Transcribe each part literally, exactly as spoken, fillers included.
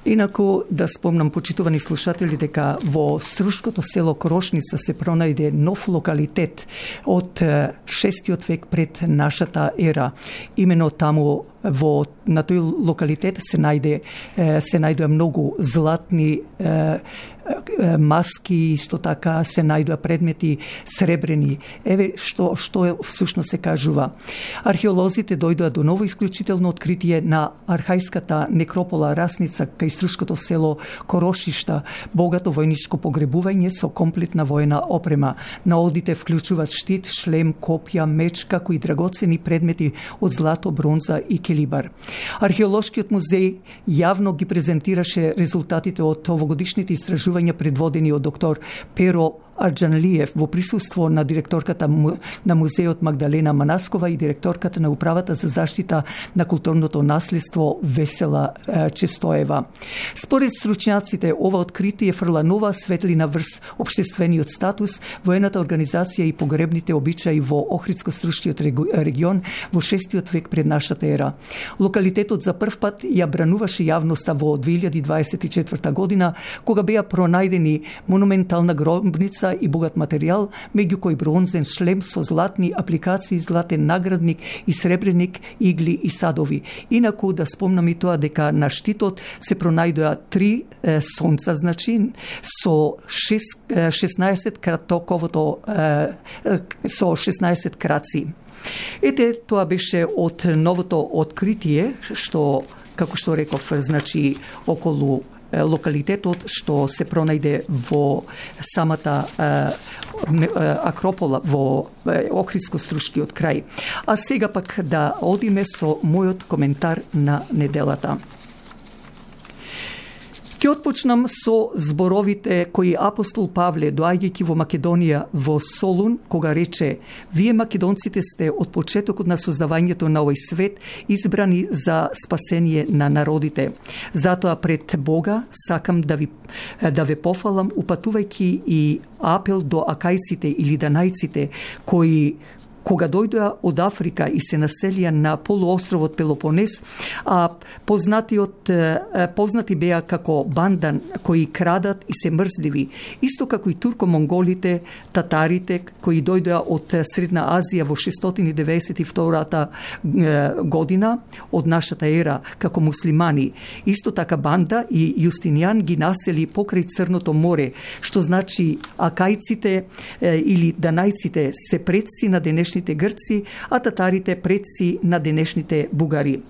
Инаку да спомнам, почитувани слушатели, дека во Струшкото село Корошница се пронајде нов локалитет од шестиот век пред нашата ера. Имено таму во на тој локалитет се најде се најдоа многу златни е, е, маски, исто така се најдоа предмети сребрени. Еве што што е всушност се кажува. Археолозите дојдоа до ново исклучително откритие на архајската некропола Расница кај Струшкото село Корошишта, богато војничко погребување со комплетна војна опрема. Наодите вклучуваат штит, шлем, копја, меч, како и драгоцени предмети од злато, бронза и келибар. Археолошкиот музеј јавно ги презентираше резултатите од овогодишните истражувања предводени од доктор Перо Арџанлиев во присуство на директорката на музеот Магдалена Манаскова и директорката на управата за заштита на културното наследство Весела Честоева. Според стручњаците, ова откритие фрла нова светлина врз општествениот статус, воената организација и погребните обичаи во Охридско-Струшкиот регион во шестиот век пред нашата ера. Локалитетот за прв пат ја брануваше јавноста во две илјади дваесет и четврта година, кога беа пронајдени монументална гробница и богат материјал, меѓу кои бронзен шлем со златни апликации, златен наградник и сребреник, игли и садови. Инаку да спомнам и тоа дека на штитот се пронајдоа три е, сонца, значи со шеснаесет кратоковото е, со шеснаесет краци. Ете, тоа беше од новото откритие, што, како што реков, значи околу локалитетот што се пронајде во самата е, Акропола во Охридско-Струшкиот крај. А сега пак да одиме со мојот коментар на неделата. Ќе отпочнам со зборовите кои апостол Павле, доаѓајќи во Македонија во Солун, кога рече: "Вие македонците сте од почетокот на создавањето на овој свет избрани за спасение на народите. Затоа пред Бога сакам да ви да ве пофалам, упатувајќи и апел до акајците или данајците кои кога дојдоа од Африка и се населија на полуостровот Пелопонес, а познатиот познати беа како бандан кои крадат и се мрзливи, исто како и турко-монголите, татарите кои дојдоа од Средна Азија во шестстотини деветдесет и втора година од нашата ера како муслимани. Исто така Банда и Јустинијан ги насели покрај Црното море, што значи акајците или данајците се предци на денешните грци, а татарите предци на денешните бугари.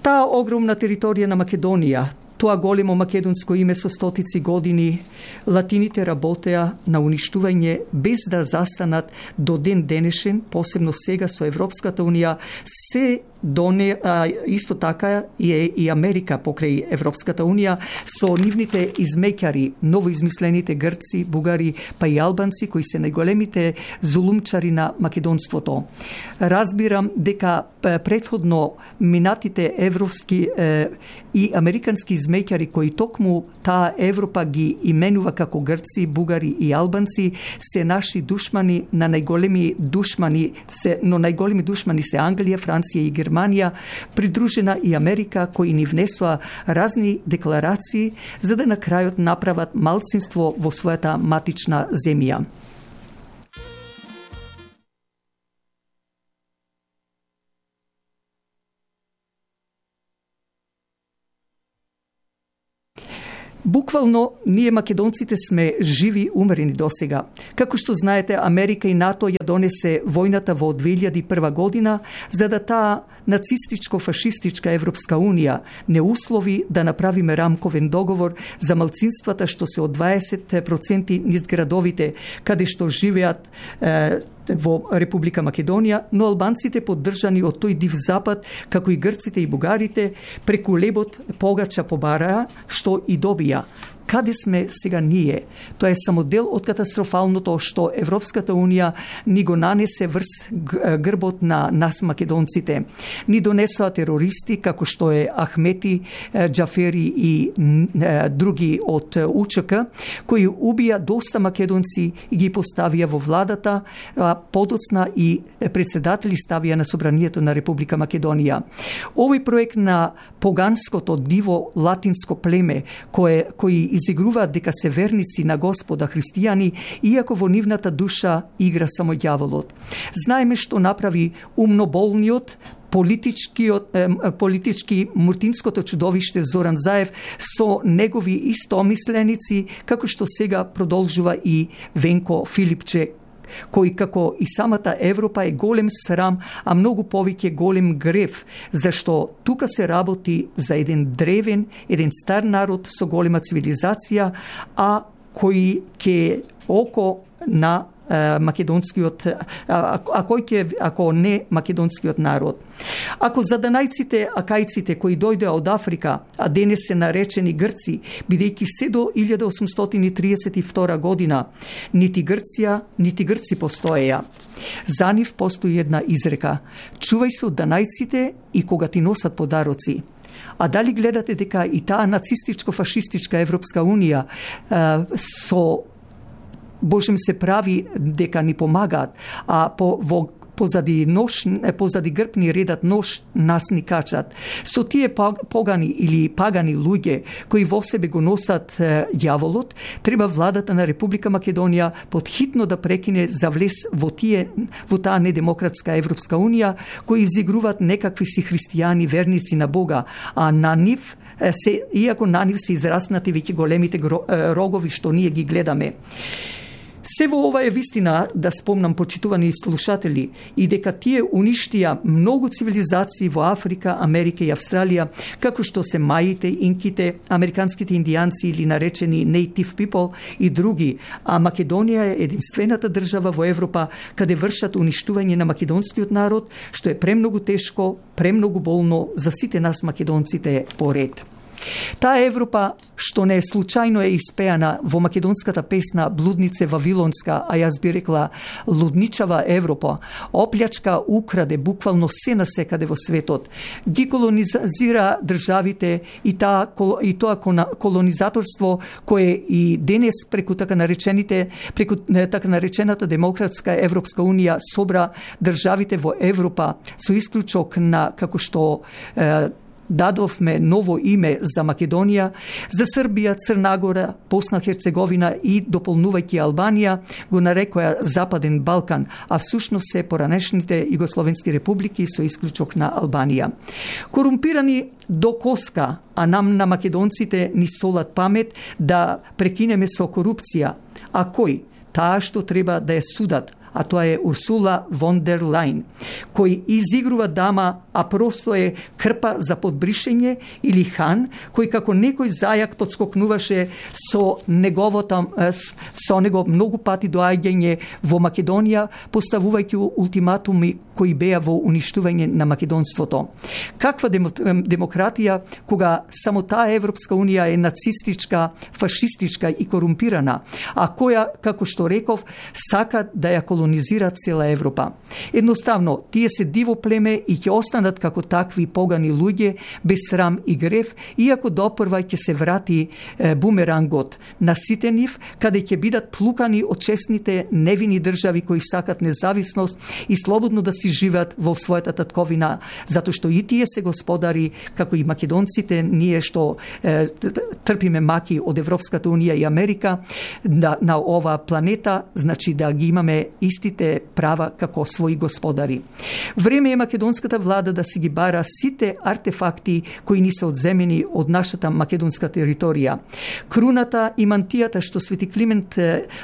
Таа огромна територија на Македонија, тоа големо македонско име со стотици години, латините работеа на уништување без да застанат до ден денешен, посебно сега со Европската унија, се доне, а, исто така и, и Америка покрај Европската унија со нивните измеќари, новоизмислените грци, бугари, па и албанци кои се најголемите зулумчари на македонството. Разбирам дека претходно минатите европски е, и американски измеќари кои токму таа Европа ги именува како грци, бугари и албанци се наши душмани на најголеми душмани се, но најголеми душмани се Англија, Франција и Германија, придружена и Америка, кои ни внесоа разни декларации за да на крајот направат малцинство во својата матична земја. Буквално, ние македонците сме живи умрени досега. Како што знаете, Америка и НАТО ја донесе војната во две илјади и прва година, за да таа нацистичко-фашистичка Европска унија не услови да направиме рамковен договор за малцинствата што се од дваесет проценти низ градовите каде што живеат е, во Република Македонија, но албанците поддржани од тој див запад, како и грците и бугарите, преку лебот погача побараа, што и добија. каде сме сега ние? Тоа е само дел од катастрофалното што Европската Унија ни го нанесе врз грбот на нас македонците. Ни донесоа терористи како што е Ахмети, Џафери и други од УЧК, кои убија доста македонци и ги поставија во владата, а подоцна и председатели ставија на собранието на Република Македонија. Овој проект на поганското диво латинско племе кое кои изигруваат дека се верници на Господа христијани, иако во нивната душа игра само ѓаволот. Знаеме што направи умноболниот политичкиот политички муртинското чудовиште Зоран Заев со негови истомисленици, како што сега продолжува и Венко Филипче, кој како и самата Европа е голем срам, а многу повеќе голем грев, зашто тука се работи за еден древен, еден стар народ со голема цивилизација, а кој ќе око на македонскиот, а, а кој ќе, ако не македонскиот народ. Ако заданајците акајците кои дојдоа од Африка, а денес се наречени Грци, бидејќи се до илјада осумстотини триесет и втора година, нити Грција, нити Грци постоеја. За нив постои една изрека: чувај се од данајците и кога ти носат подароци. А дали гледате дека и таа нацистичко-фашистичка Европска Унија а, со Божем се прави дека ни помагаат, а по, во, позади, нож, позади грб ни редат нож, нас ни качат. Со тие погани или пагани луѓе кои во себе го носат е, ѓаволот, треба владата на Република Македонија подхитно да прекине за влез во тие во таа недемократска Европска Унија, кои изигруваат некакви си христијани верници на Бога, а на нив се, иако на нив се израснати веќе големите рогови што ние ги гледаме. Се во ова е вистина, да спомнам, почитувани слушатели, и дека тие уништија многу цивилизации во Африка, Америка и Австралија, како што се маите, инките, американските индијанци или наречени native people и други, а Македонија е единствената држава во Европа каде вршат уништување на македонскиот народ, што е премногу тешко, премногу болно за сите нас македонците поред. Таа Европа, што не е случајно е испеана во македонската песна Блуднице Вавилонска, а јас би рекла лудничава Европа, оплячка, украде буквално се насекаде во светот, ги колонизира државите и, таа, и тоа колонизаторство кое и денес преку така наречените преку така наречената демократска Европска Унија собра државите во Европа со исклучок на, како што е, дадовме ново име за Македонија, за Србија, Црна Гора, Босна, Херцеговина и дополнувајќи Албанија, го нарекоја Западен Балкан, а всушност се поранешните југословенски републики со исклучок на Албанија. Корумпирани до коска, а нам на македонците ни солат памет да прекинеме со корупција. А кој? Таа што треба да ја судат, а тоа е Урсула фон дер Лајн, кој изигрува дама, а просто е крпа за подбришење, или хан, кој како некој зајак подскокнуваше со неговото, со него многу пати доаѓање во Македонија, поставувајќи ултиматуми кои беа во уништување на македонството. Каква демократија кога само таа Европска Унија е нацистичка, фашистичка и корумпирана, а која, како што реков, сака да ја колонизира цела Европа. Едноставно, тие се диво племе и ќе останат како такви погани луѓе, без срам и грев, иако допрва ќе се врати е, бумерангот на сите нив, каде ќе бидат плукани од честните невини држави кои сакат независност и слободно да си живеат во својата татковина, затоа што и тие се господари, како и македонците, ние што е, трпиме маки од Европската Унија и Америка, да, на ова планета, значи да ги имаме истите права како своји господари. Време е македонската влада да си ги бара сите артефакти кои ни се одземени од нашата македонска територија. Круната и мантијата што Свети Климент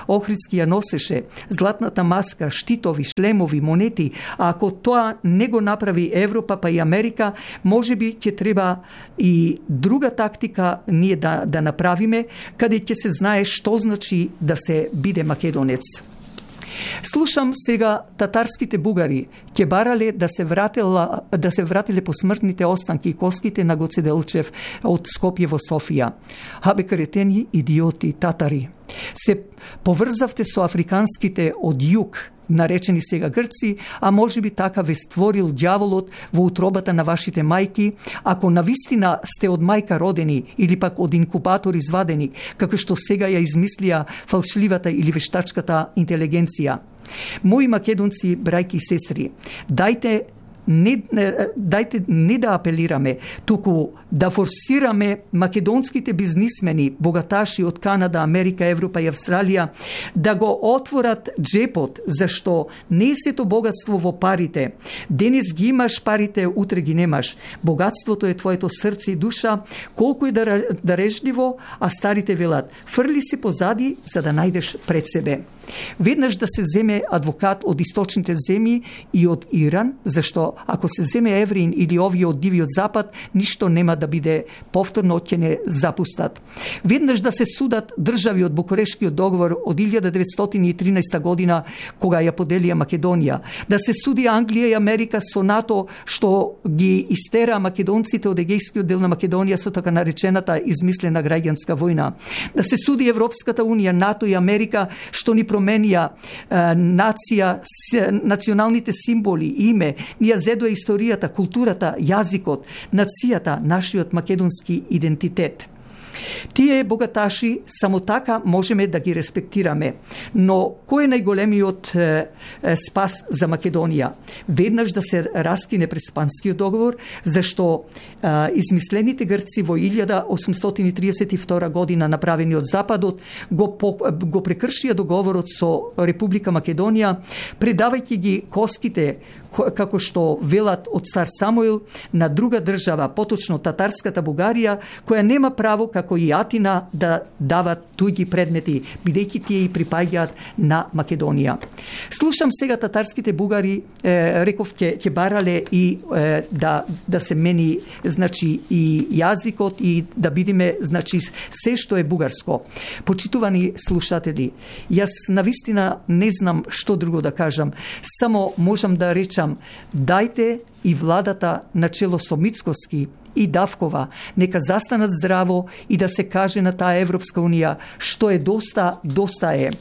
Охридски ја носеше, златната маска, штитови, шлемови, монети, а ако тоа не го направи Европа па и Америка, можеби ќе треба и друга тактика ние да, да направиме, каде ќе се знае што значи да се биде македонец. Слушам сега татарските бугари ќе барале да се вратила да се вратиле посмртните останки и костите на Гоце Делчев од Скопје во Софија. Абе кретени, идиоти, татари. Се поврзавте со африканските од југ, наречени сега Грци, а може би така ве створил ѓаволот во утробата на вашите мајки, ако навистина сте од мајка родени или пак од инкубатор извадени, како што сега ја измислија фалшливата или вештачката интелигенција. Мои македонци, брајки и сестри, дајте Не, дајте не да апелираме, туку да форсираме македонските бизнисмени, богаташи од Канада, Америка, Европа и Австралија, да го отворат джепот, зашто не е сето богатство во парите. Денес ги имаш парите, утре ги немаш. Богатството е твоето срце и душа, колку е дарежливо, а старите велат, фрли се позади за да најдеш пред себе. Веднаш да се земе адвокат од источните земји и од Иран, зашто ако се земе евреин или овие од дивиот запад, ништо нема да биде повторно, ќе не запустат. Веднаш да се судат држави од Букурешкиот договор од илјада деветстотини и тринаесета година, кога ја поделија Македонија. Да се суди Англија и Америка со НАТО, што ги истера македонците од егејскиот дел на Македонија со така наречената измислена граѓанска војна. Да се суди Европската унија, НАТО и Америка, што ни променија е, нација, с, националните символи, име, ни ја зедоа историјата, културата, јазикот, нацијата, нашиот македонски идентитет. Тие богаташи само така можеме да ги респектираме. Но кој е најголемиот е, е, спас за Македонија? Веднаш да се раскине Преспанскиот договор, зашто е, измислените Грци во илјада осумстотини триесет и втора година направени од Западот го, по, го прекршија договорот со Република Македонија, предавајќи ги коските, како што велат од цар Самуил, на друга држава, поточно татарската Бугарија, која нема право како и Атина да дават туѓи предмети, бидејќи тие и припаѓаат на Македонија. Слушам сега татарските бугари, е, реков ќе ќе барале и е, да да се мени, значи, и јазикот и да бидиме, значи, се што е бугарско. Почитувани слушатели, јас навистина не знам што друго да кажам, само можам да речам, дајте и владата начело со Мицкоски и Давкова нека застанат здраво и да се каже на таа Европска унија што е доста, доста е.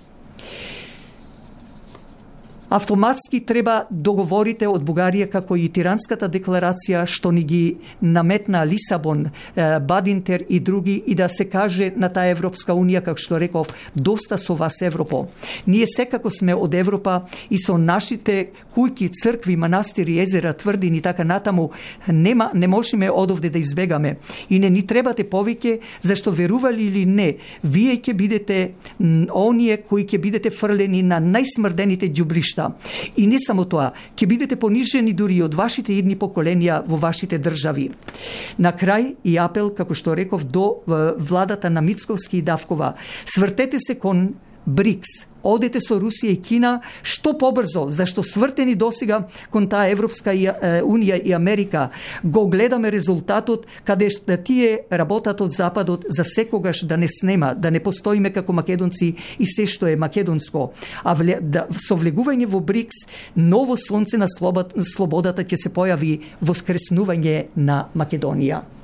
Автоматски треба договорите од Бугарија, како и Тиранската декларација што ни ги наметна Лисабон, Бадинтер и други, и да се каже на таа Европска унија, како што реков, доста со вас Европо. Ние секако сме од Европа и со нашите кујки, цркви, манастири, езера, тврдини и така натаму нема не можеме одовде да избегаме. И не ни требате повеќе, зашто верували или не, вие ќе бидете оние кои ќе бидете фрлени на најсмрдените ѓубришта. И не само тоа, ќе бидете понижени дури од вашите идни поколенија во вашите држави. На крај и апел, како што реков, до владата на Мицковски и Давкова. Свртете се кон БРИКС. Одете со Русија и Кина што побрзо, зашто свртени досега кон таа Европска унија и Америка. Го гледаме резултатот каде тие работат од Западот за секогаш да не снема, да не постоиме како македонци и се што е македонско. А вле, да, со влегување во БРИКС, ново сонце на слободата ќе се појави воскреснување на Македонија.